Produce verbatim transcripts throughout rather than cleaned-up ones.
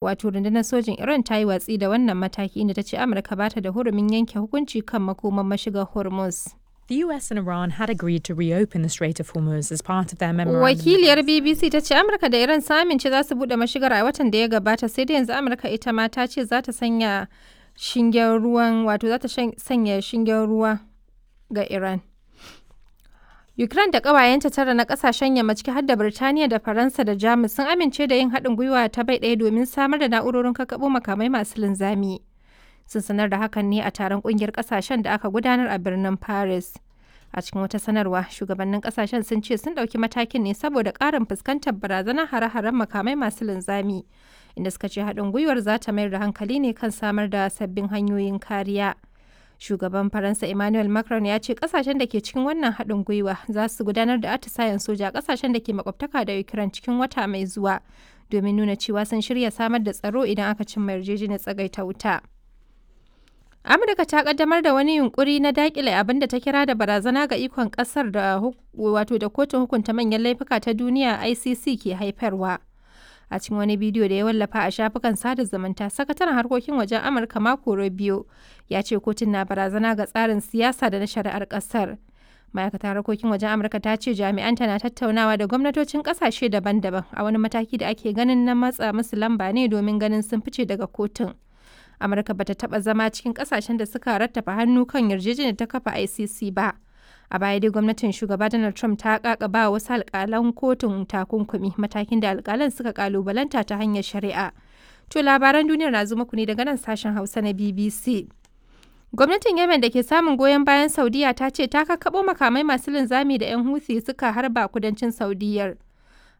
Wato rundunar sojin Iran ta yi watsi da wannan mataki, inda ta ce Amurka ba ta da hurumin yanke hukunci kan makomar mashigar Hormuz. The U S and Iran had agreed to reopen the Strait of Hormuz as part of their memorandum. Wakiliyar B B C ta ce Amurka da Iran sun amince za su buɗe mashigar a watan da ya gabata, sai dai yanzu Amurka ita ma ta ce za ta sanya shingen ruwan, wato za ta sanya shingen ruwa ga Iran. Ukraine da ƙawayenta tara na ƙasashen yamma, ciki har da Birtaniya da Faransa da Jamus, sun amince da yin haɗin gwiwa ta bai ɗaya domin samar da na'urorin kakkaɓo makamai masu linzami. Sun sanar da hakan ne a taron ƙungiyar ƙasashen da aka gudanar a birnin Paris. A cikin wata sanarwa, shugabannin ƙasashen sun ce sun ɗauki matakin ne saboda ƙarin fuskantar barazanar hare-haren makamai masu linzami, inda suka ce haɗin gwiwar za ta mayar da hankali ne kan samar da sabbin hanyoyin kariya. Shugaban Faransa Emmanuel Macron ya ce kasashen da ke cikin wannan haɗin gwiwa za su gudanar da atisayen soja a kasashen da ke makwabtaka da Ukraine cikin wata mai zuwa domin nuna cewa sun shirya samar da tsaro idan aka cimma yarjejeniyar tsagaita wuta. Amurka ta kaddamar da wani yunkuri na dakile abin da ta kira da barazana ga ikon kasar da wato da kotun hukunta manyan laifuka ta duniya I C C ke haifarwa. A cikin wani bidiyo da ya wallafa a shafukan sada zumunta, sakataren harkokin wajen Amurka Marco Rubio ya ce kotun na barazana ga tsarin siyasa da na shari'ar kasar. Ma'aikatar harkokin wajen Amurka ta ce jami'anta na tattaunawa da gwamnatocin kasashe daban-daban a wani mataki da ake ganin na matsa musu lamba ne domin ganin sun fice daga kotun. Amurka bata taba zama cikin kasashen da suka rattafa hannu kan yarjejeniyar ta kafa I C C ba. A baya dai gwamnatin shugaba Donald Trump ta kakaba wasu alkalan kotun takunkumi, matakin da alkalan suka kalubalanta ta hanyar shari'a. To, labaran duniyar na zo muku ne daga nan sashen Hausa na B B C. Gwamnatin Yemen da ke samun goyon bayan Saudiya ta ce ta kakkaɓo makamai masu linzami da 'yan Houthi suka harba kudancin Saudiyar.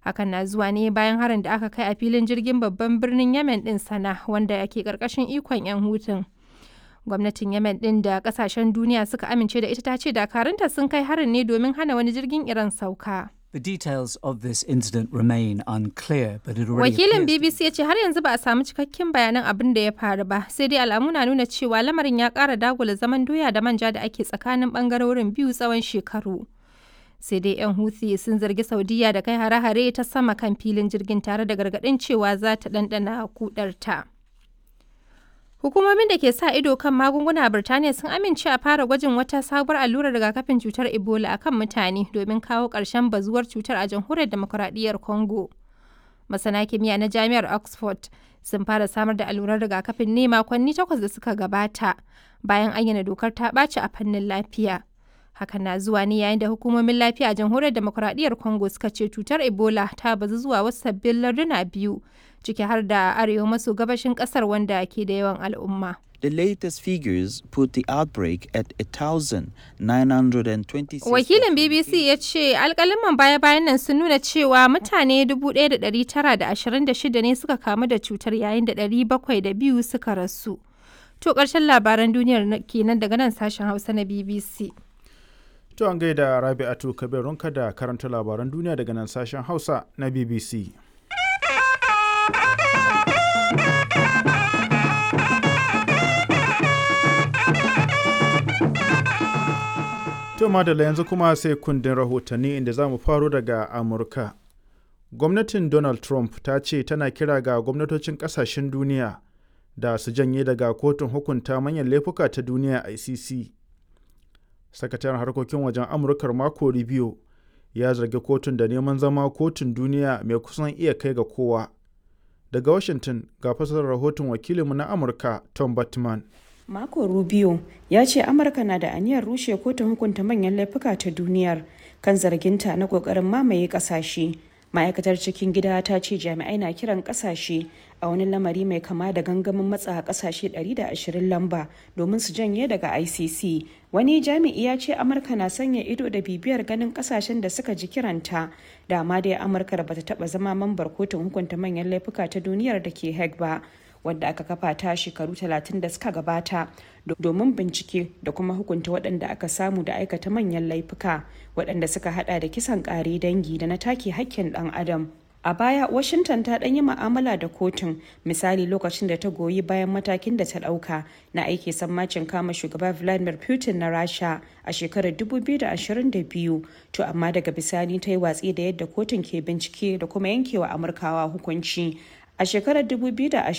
Hakan na zuwa ne bayan harin da aka kai a filin jirgin babban birnin Yemen din Sana, wanda ke karkashin ikon 'yan Hutun. Gwamnatin Yemen din da kasashen duniya suka amince da ita ta ce dakarunta sun kai harin ne domin hana wani jirgin Iran sauka. The details of this incident remain unclear, but it already Wakilin appears B B C ya ce har yanzu ba a samu cikakken bayanan abin da ya faru ba, sai dai alamu na nuna cewa lamarin ya ƙara dagula zaman doya da manja da ake tsakanin bangarorin biyu tsawon shekaru. Sai dai 'yan Houthi sun zargi Saudiya da kai hare-hare ta sama kan filin jirgin tare da gargaɗin cewa za ta ɗanɗana kudarta. Hukumomin da ke sa ido kan magunguna a Birtaniya sun amince a fara gwajin wata sabuwar allurar rigakafin cutar Ebola a kan mutane domin kawo ƙarshen bazuwar cutar a Jamhuriyar Demokuraɗiyyar Congo. Masana kimiyya na Jami'ar Oxford sun fara samar da allurar rigakafin ne makonni takwas da suka gabata bayan ayyana dokar ta ɓaci a fannin lafiya. Hakan na zuwa ne yayin da hukumomin lafiya a Jamhuriyar Demokuraɗiyyar Congo suka ce cutar Ebola ta bazu zuwa wasu sabbin larduna biyu, ciki har da arewa maso gabashin ƙasar wanda ke da yawan al'umma. The latest figures put the outbreak at one thousand nine hundred twenty-six. Wakilin B B C ya ce alkaliman baya-bayan nan sun nuna cewa mutane dubu ɗaya da ɗari tara da ashirin da shida ne suka kamu da cutar, yayin da ɗari bakwai da biyu suka rasu. To, ƙarshen labaran duniyar kenan daga nan sashen Hausa na B B C. To, an gaida Rabi'atu Kabir Runka da karanta labaran duniya daga nan sashen Hausa na B B C. To madalla, yanzu kuma sai kundin rahotanni, inda za mu faro daga Amurka. Gwamnatin Donald Trump ta ce tana kira ga gwamnatocin kasashen duniya da su janye daga kotun hukunta manyan laifuka ta duniya I C C. Sakataren harkokin wajen Amurkar Marco Rubio ya zargi kotun da neman zama kotun duniya mai kusan iya kai ga kowa. Daga Washington ga fasarar rahoton wakilinmu na Amurka Tom Batman. Marco Rubio ya ce Amurka na da aniyar rushe kotun hukunta manyan laifuka ta duniyar kan zarginta na kokarin mamaye kasashe. Ma'aikatar cikin gida ta ce jami'ai na kiran kasashe a wani lamari mai kama da gangamin matsa kasashe ɗari da ashirin lamba domin su janye daga I C C. Wani jami'i ya ce Amurka na sanya ido da bibiyar ganin kasashen da suka ji kiranta. Dama dai Amurka bata taba zama mambar kotun hukunta manyan laifuka ta duniyar da ke Hague ba, wadda aka kafa ta shekaru talatin da suka gabata domin bincike da kuma hukunta waɗanda aka samu da aikata manyan laifuka waɗanda suka hada da kisan ƙare dangi da na take hakkin ɗan adam. A baya, Washington ta ɗan yi ma'amala da kotun, misali lokacin da ta goyi bayan matakin da ta ɗauka na aiki sammacin kama shugaba Vladimir Putin na Rasha a shekarar dubu biyu da ashirin da biyu. To amma daga bisani ta yi watsi da yadda kotun ke bincike da kuma yankewa Amurkawa hukunci. A shekarar dubu biyu da ashirin.